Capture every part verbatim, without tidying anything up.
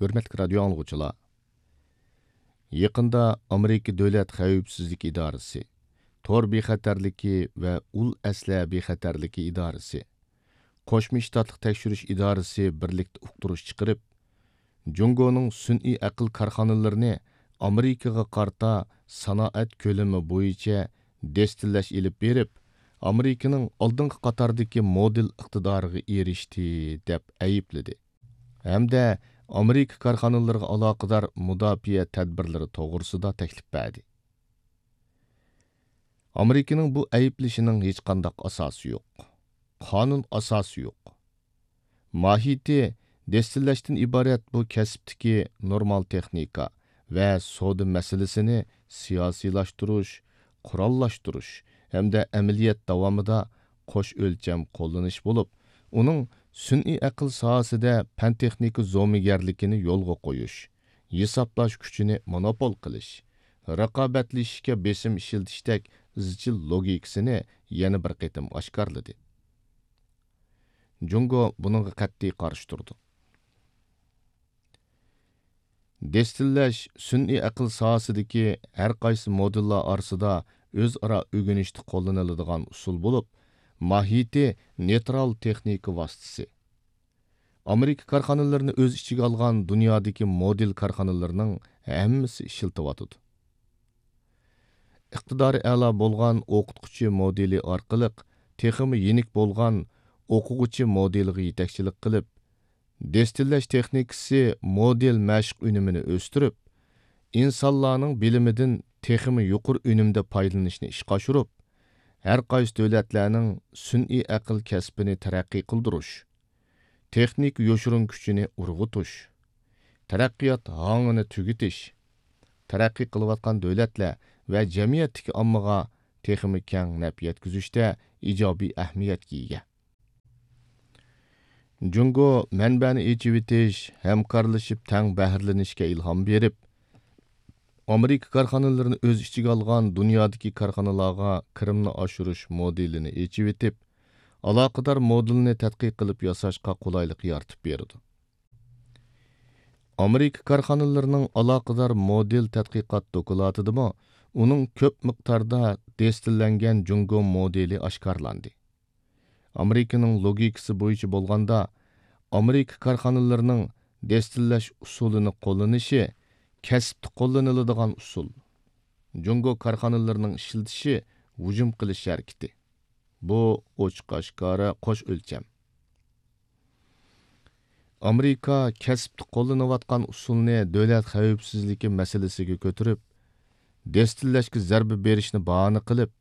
ھۆرمەتلىك رادىيو ئاڭلىغۇچىلار! يېقىندا ئامېرىكا دۆلەت خەۋپسىزلىك ئىدارىسى، تور بىخەتەرلىكى ۋە ئۇل ئەسلىھە بىخەتەرلىكى ئىدارىسى، قوشما شتاتلىق تەكشۈرۈش ئىدارىسى بىرلىكتە ئۇقتۇرۇش چىقىرىپ، جۇڭگونىڭ سۈنئىي ئەقىل كارخانىلىرىنى ئامېرىكىغا قارىتا سانائەت كۆلىمى بويىچە دەستىلەش ئېلىپ بېرىپ، ئامېرىكىنىڭ ئالدىنقى قاتاردىكى مودېل ئىقتىدارىغا ئېرىشتى، دەپ ئەيىبلىدى ھەمدە ئامېرىكا كارخانىلىرىغا ئالاقىدار مۇداپىئە تەدبىرلىرى توغرىسىدا تەكلىپ بەردى. ئامېرىكىنىڭ بۇ ئەيىبلىشىنىڭ ھېچقانداق ئاساسى يوق. قانۇن ئاساسى يوق. ماھىيىتى دەستىلەشتىن ئىبارەت بۇ كەسىپتىكى نورمال تېخنىكا ۋە سودا مەسىلىسىنى سىياسىيلاشتۇرۇش، قوراللاشتۇرۇش ھەمدە ئەمەلىيەت داۋامىدا قوش ئۆلچەم قوللىنىش بولۇپ، ئۇنىڭ سۈنئىي ئەقىل ساھەسىدە پەن-تېخنىكا زومىگەرلىكىنى يولغا قويۇش، ھېسابلاش كۈچىنى مونوپول قىلىش، رىقابەتلىشىشكە بېسىم ئىشلىتىشتەك ئىزچىل لوگىكىسىنى يەنە بىر قېتىم ئاشكارىلىدى. جۇڭگو بۇنىڭغا قەتئىي قارشى تۇرىدۇ. دەستىلەش سۈنئىي ئەقىل ساھەسىدىكى ھەر قايسى مودېللار ئارىسىدا ئۆزئارا ئۆگىنىشتە قوللىنىلىدىغان ئۇسۇل بولۇپ، ماھىيىتى نېيترال تېخنىكا ۋاسىتىسى. ئامېرىكا كارخانىلىرىنى ئۆز ئىچىگە ئالغان دۇنيادىكى مودېل كارخانىلىرىنىڭ ھەممىسى ئىشلىتىۋاتىدۇ. ئىقتىدارى ئەلا بولغان ئوقۇتقۇچى مودېلى ئارقىلىق تېخىمۇ يېنىك بولغان ئوقۇغۇچى مودېلىغا يېتەكچىلىك قىلىپ، دەستىلەش تېخنىكىسى مودېل مەشىق ئۈنۈمىنى ئۆستۈرۈپ، ئىنسانلارنىڭ بىلىمىدىن تېخىمۇ يۇقىرى ئۈنۈمدە پايدىلىنىشنى ئىشقا ئاشۇرۇپ، ھەر قايسى دۆلەتلەرنىڭ سۈنئىي ئەقىل كەسپىنى تەرەققىي قىلدۇرۇش، تېخنىكا يوشۇرۇن كۈچىنى ئۇرغۇتۇش، تەرەققىيات ھاڭىنى تۈگىتىش، تەرەققىي قىلىۋاتقان دۆلەتلەر ۋە جەمئىيەتتىكى ئاممىغا تېخىمۇ كەڭ نەپ يەتكۈزۈشتە ئىجابىي ئەھمىيەتكە ئىگە. جۇڭگو مەنبەنى ئېچىۋېتىش، ھەمكارلىشىپ تەڭ بەھرىلىنىشكە ئىلھام بېرىپ، ئامېرىكا كارخانىلىرىنى ئۆز ئىچىگە ئالغان دۇنيادىكى كارخانىلارغا كىرىمنى ئاشۇرۇش مودېلىنى ئېچىۋېتىپ، ئالاقىدار مودېلنى تەتقىق قىلىپ ياساشقا قولايلىق يارىتىپ بېرىدۇ. ئامېرىكا كارخانىلىرىنىڭ ئالاقىدار مودېل تەتقىقات دوكلاتىدىمۇ ئۇنىڭ كۆپ مىقداردا دەستىلەنگەن جۇڭگو مودېلى ئاشكارىلاندى. ئامېرىكىنىڭ لوگىكىسى بويىچە بولغاندا، ئامېرىكا كارخانىلىرىنىڭ دەستىلەش ئۇسۇلىنى قوللىنىشى كەسىپتە قوللىنىلىدىغان ئۇسۇل. جۇڭگو كارخانىلىرىنىڭ ئىشلىتىشى ھۇجۇم قىلىش ھەرىكىتى. بۇ ئوچۇق-ئاشكارا قوش ئۆلچەم. ئامېرىكا كەسىپتە قوللىنىۋاتقان ئۇسۇلنى دۆلەت خەۋپسىزلىكى مەسىلىسىگە كۆتۈرۈپ، دەستىلەشكە زەربە بېرىشنى باھانە قىلىپ،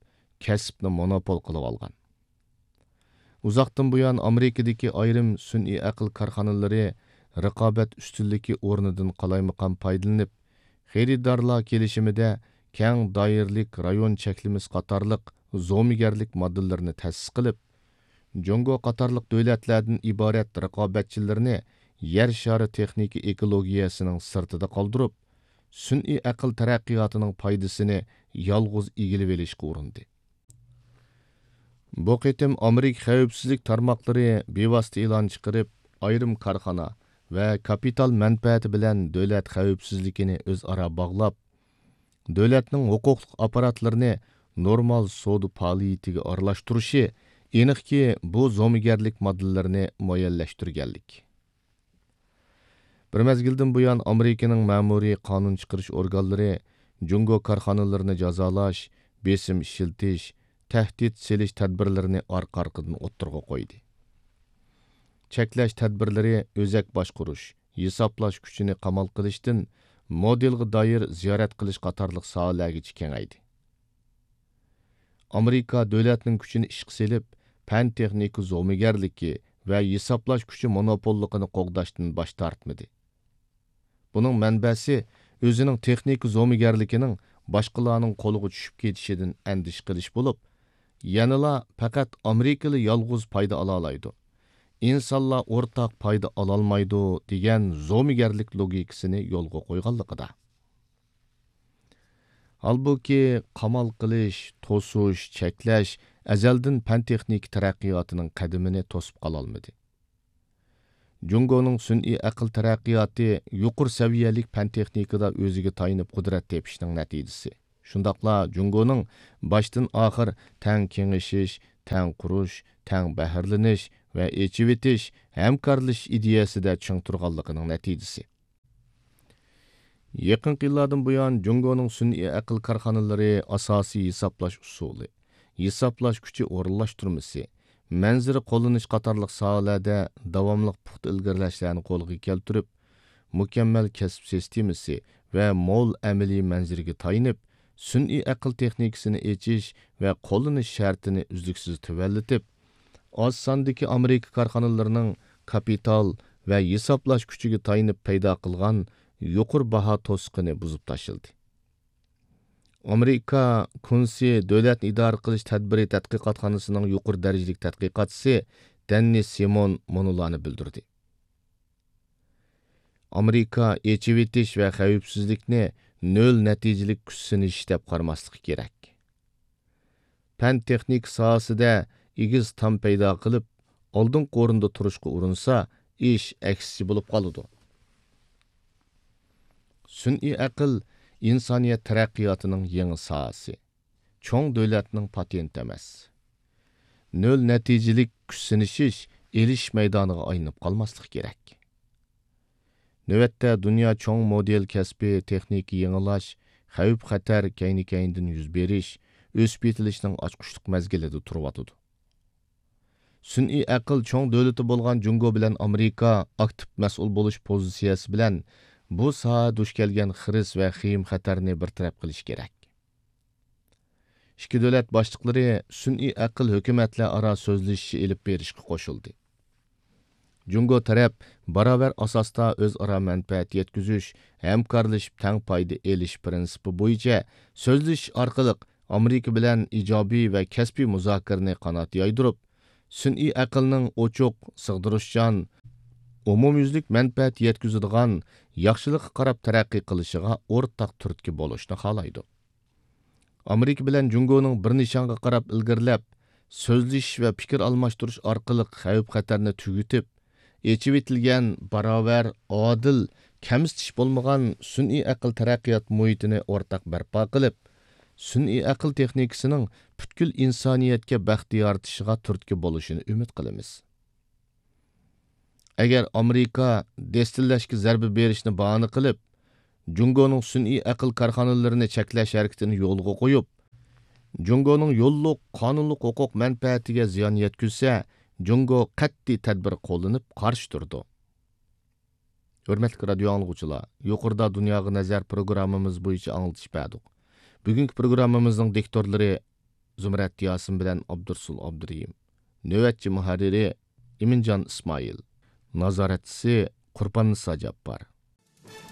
كەسىپنى مونوپول قىلىۋالغان. ئۇزاقتىن بۇيان ئامېرىكىدىكى ئايرىم سۈنئىي ئەقىل كارخانىلىرى رىقابەت ئۈستۈنلۈكى ئورنىدىن قالايمىقان پايدىلىنىپ، خېرىدارلار كېلىشىمىدە كەڭ دائىرىلىك رايون چەكلىمىسى قاتارلىق زومىگەرلىك ماددىلىرىنى تەسىس قىلىپ، جۇڭگو قاتارلىق دۆلەتلەردىن ئىبارەت رىقابەتچىلىرىنى يەر شارى تېخنىكا ئېكولوگىيەسىنىڭ سىرتىدا قالدۇرۇپ، سۈنئىي ئەقىل تەرەققىياتىنىڭ پايدىسىنى يالغۇز ئىگىلىۋېلىشقا ئۇرۇندى. بۇ قېتىم ئامېرىكا خەۋپسىزلىك تارماقلىرى بىۋاسىتە ئېلان چىقىرىپ، ئايرىم كارخانا ۋە كاپىتال مەنپەئەتى بىلەن دۆلەت خەۋپسىزلىكىنى ئۆزئارا باغلاپ، دۆلەتنىڭ ھوقۇقلۇق ئاپپاراتلىرىنى نورمال سودا پائالىيىتىگە ئارىلاشتۇرۇشى ئېنىقكى، بۇ زومىگەرلىك ماددىلىرىنى مۇئەييەنلەشتۈرگەنلىك. بىر مەزگىلدىن بۇيان، ئامېرىكىنىڭ مەمۇرىي قانۇن چىقىرىش ئورگانلىرى جۇڭگو كارخانىلىرىنى جازالاش، بېسىم ئىشلىتىش، تەھدىت سېلىش تەدبىرلىرىنى ئارقا-ئارقىدىن ئوتتۇرىغا قويدى. چەكلەش تەدبىرلىرى ئۆزەك باشقۇرۇش، ھېسابلاش كۈچىنى قامال قىلىشتىن مودېلغا دائىر زىيارەت قىلىش قاتارلىق ساھەلەرگىچە كېڭەيدى. ئامېرىكا دۆلەتنىڭ كۈچىنى ئىشقا سېلىپ، پەن-تېخنىكا زومىگەرلىكى ۋە ھېسابلاش كۈچى مونوپوللۇقىنى قوغداشتىن باش تارتمىدى. بۇنىڭ مەنبەسى ئۆزىنىڭ تېخنىكا زومىگەرلىكىنىڭ باشقىلارنىڭ قولىغا چۈشۈپ كېتىشىدىن ئەندىشە قىلىش بولۇپ، يەنىلا پەقەت ئامېرىكىلا يالغۇز پايدا ئالالايدۇ، ئىنسانلار ئورتاق پايدا ئالالمايدۇ دېگەن زومىگەرلىك لوگىكىسىنى يولغا قويغانلىقىدا. ھالبۇكى، قامال قىلىش، توسۇش، چەكلەش ئەزەلدىن پەن-تېخنىكا تەرەققىياتىنىڭ قەدىمىنى توسۇپ قالالمىدى. جۇڭگونىڭ سۈنئىي ئەقىل تەرەققىياتى يۇقىرى سەۋىيەلىك پەن تېخنىكىدا ئۆزىگە تايىنىپ قۇدرەت تېپىشنىڭ نەتىجىسى. شۇنداقلا جۇڭگونىڭ باشتىن ئاخىر تەڭ كېڭىشىش، تەڭ قۇرۇش، تەڭ بەھرىلىنىش ۋە ئېچىۋېتىش، ھەمكارلىشىش ئىدىيەسىدە چىڭ تۇرغانلىقىنىڭ نەتىجىسى. يېقىنقى يىللاردىن بۇيان، جۇڭگونىڭ سۈنئىي ئەقىل كارخانىلىرى ئاساسىي ھېسابلاش ئۇسۇلى، ھېسابلاش كۈچى ئورۇنلاشتۇرمىسى، مەنزىرە قوللىنىش قاتارلىق ساھەلەردە داۋاملىق پۇختا ئىلگىرىلەشلەرنى قولغا كەلتۈرۈپ، مۇكەممەل كەسىپ سىستېمىسى ۋە مول ئەمەلىي مەنزىرىگە تايىنىپ، سۈنئىي ئەقىل تېخنىكىسىنى ئېچىش ۋە قوللىنىش شەرتىنى ئۈزلۈكسىز تۆۋەنلىتىپ، ئاز ساندىكى ئامېرىكا كارخانىلىرىنىڭ كاپىتال ۋە ھېسابلاش كۈچىگە تايىنىپ پەيدا قىلغان يۇقىرى باھا توسۇقىنى بۇزۇپ تاشلىدى. ئامېرىكا كۇنسى دۆلەتنى ئىدارە قىلىش تەدبىرى تەتقىقاتخانىسىنىڭ يۇقىرى دەرىجىلىك تەتقىقاتچىسى دەننىس سىمون مۇنۇلارنى بىلدۈردى. ئامېرىكا ئېچىۋېتىش ۋە خەۋپسىزلىكنى نۆل نەتىجىلىك كۈچ سىنىشىش دەپ قارىماسلىقى كېرەك. پەن تېخنىكا ساھەسىدە ئېگىز تام پەيدا قىلىپ، ئالدىنقى ئورۇندا تۇرۇشقا ئۇرۇنسا، ئىش ئەكسىچە بولۇپ قالىدۇ. سۈنئىي ئەقىل ئىنسانىيەت تەرەققىياتىنىڭ يېڭى ساھەسى، چوڭ دۆلەتنىڭ پاتېنتى ئەمەس. نۆل نەتىجىلىك كۈچ سىنىشىش ئېلىشىش مەيدانىغا ئايلىنىپ قالماسلىقى كېرەك. نۆۋەتتە دۇنيا چوڭ مودېل كەسپى تېخنىكا يېڭىلاش، خەۋپ-خەتەر كەينى-كەينىدىن يۈز بېرىش، ئۆسۈپ يېتىلىشنىڭ ئاچقۇچلۇق مەزگىلىدە تۇرۇۋاتىدۇ. سۈنئىي ئەقىل چوڭ دۆلىتى بولغان جۇڭگو بىلەن ئامېرىكا ئاكتىپ مەسئۇل بولۇش پوزىتسىيەسى بىلەن بۇ ساھە دۇچ كەلگەن خىرىس ۋە خېيىم-خەتەرنى بىر تەرەپ قىلىشى كېرەك. ئىككى دۆلەت باشلىقلىرى سۈنئىي ئەقىل ھۆكۈمەتلەر ئارا سۆزلىشىشى ئېلىپ بېرىشقا قوشۇلدى. جۇڭگو تەرەپ باراۋەر ئاساستا ئۆزئارا مەنپەئەت يەتكۈزۈش، ھەمكارلىشىپ تەڭ پايدا ئېلىش پىرىنسىپى بويىچە سۆزلىشىش ئارقىلىق ئامېرىكا بىلەن ئىجابىي ۋە كەسپىي مۇزاكىرىنى قانات يايدۇرۇپ، سۈنئىي ئەقىلنىڭ ئوچۇق، سىغدۇرۇشچان، ئومۇميۈزلۈك مەنپەئەت يەتكۈزىدىغان، ياخشىلىققا قاراپ تەرەققىي قىلىشىغا ئورتاق تۈرتكە بولۇشنى خالايدۇ. ئامېرىكا بىلەن جۇڭگونىڭ بىر نىشانغا قاراپ ئىلگىرىلەپ، سۆزلىشىش ۋە پىكىر ئالماشتۇرۇش ئارقىلىق خەۋپ-خەتەرنى تۈگىتىپ، ئېچىۋېتىلگەن، باراۋەر، ئادىل، كەمسىتىش بولمىغان سۈنئىي ئەقىل تەرەققىيات مۇھىتىنى ئورتاق بەرپا قىلىپ، سۈنئىي ئەقىل تېخنىكىسىنىڭ پۈتكۈل ئىنسانىيەتكە بەخت يارىتىشىغا تۈرتكە بولۇشىنى ئۈمىد قىلىمىز. ئەگەر ئامېرىكا دەستىلەشكە زەربە بېرىشنى باھانە قىلىپ، جۇڭگونىڭ سۈنئىي ئەقىل كارخانىلىرىنى چەكلەش ھەرىكىتىنى يولغا قويۇپ، جۇڭگونىڭ يوللۇق قانۇنلۇق ھوقۇق مەنپەئەتىگە زىيان يەتكۈزسە، جۇڭگو قەتئىي تەدبىر قوللىنىپ قارشى تۇرىدۇ. ھۆرمەتلىك رادىيو ئاڭلىغۇچىلار، يۇقىرىدا دۇنياغا نەزەر پروگراممىمىز بويىچە ئاڭلىتىش بەردۇق. بۈگۈنكى پروگراممىمىزنىڭ دىكتورلىرى زۇمرەت ياسىن بىلەن ئابدۇرسۇل ئابدۇرېھىم. نۆۋەتچى مۇھەررىرى ئىمىنجان ئىسمائىل. نازارەتچىسى قۇرباننىسا جاپپار.